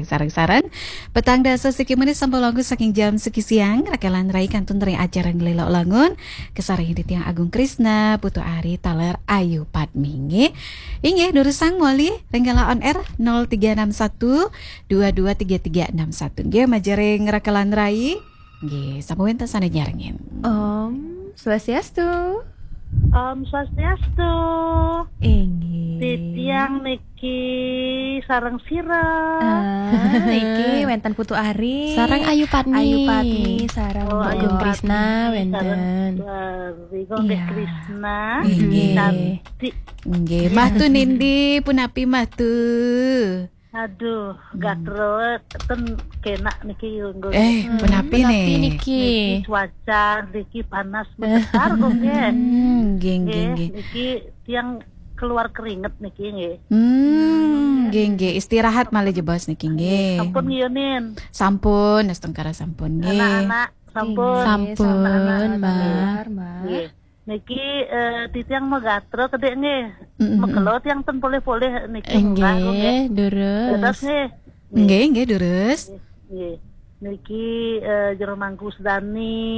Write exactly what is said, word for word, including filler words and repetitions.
Sareng-sareng. Petang dasa siki menit sampun longgus saking jam siki siang, rakelan rai kantun ring acara Nglelok Langun, kasarengin titiang Agung Krisna, Putu Ari, taler Ayu Padmi, nggih. Inggih, durusang malih ring galah on air nol tiga enam satu dua dua tiga tiga enam satu. Nggih, majeng ring rakelan rai. Nggih, sampun wenten sane nyarengin. Om Swastiastu. Om Swastiastu. Inggih. Titiang niki sareng sira. Ah, niki wenten Putu Ari. Sareng Ayu Padmi. Ayu Padmi, sareng Oh, Ayu Agung Padmi, Krisna sareng wenten. Putu Ari, Gung Iya. Krisna. Inggih. Cantik. Nggih, mah tu nindi punapi mah tu. Aduh, Hmm. gatra ten kenak niki, Gung. Eh, Hmm, punapi punapi nih? Niki. Niki cuaca, niki panas besar, Gung, nggih. Hmm, nggih, nggih, Nggih, nggih. Niki tiang keluar keringet niki, nggih. Hmm, nggih, nggih. Istirahat malih jebos niki, nggih. Sampun nggih, Nin? Sampun, astungkara sampun, nggih. Anak-anak, sampun. Nggih, sampun, anak-anak, Mbak. Nggih. Mbak. Nggih. Niki, eh, titiang magatra kedek nggih. Mm-mm. Makelo tiang ten polih-polih niki. Nggih, munggah, nggih. Durus. Dados nggih. Nggih, nggih, durus. Nggih. Niki, eh, Jero Mangku Sedani.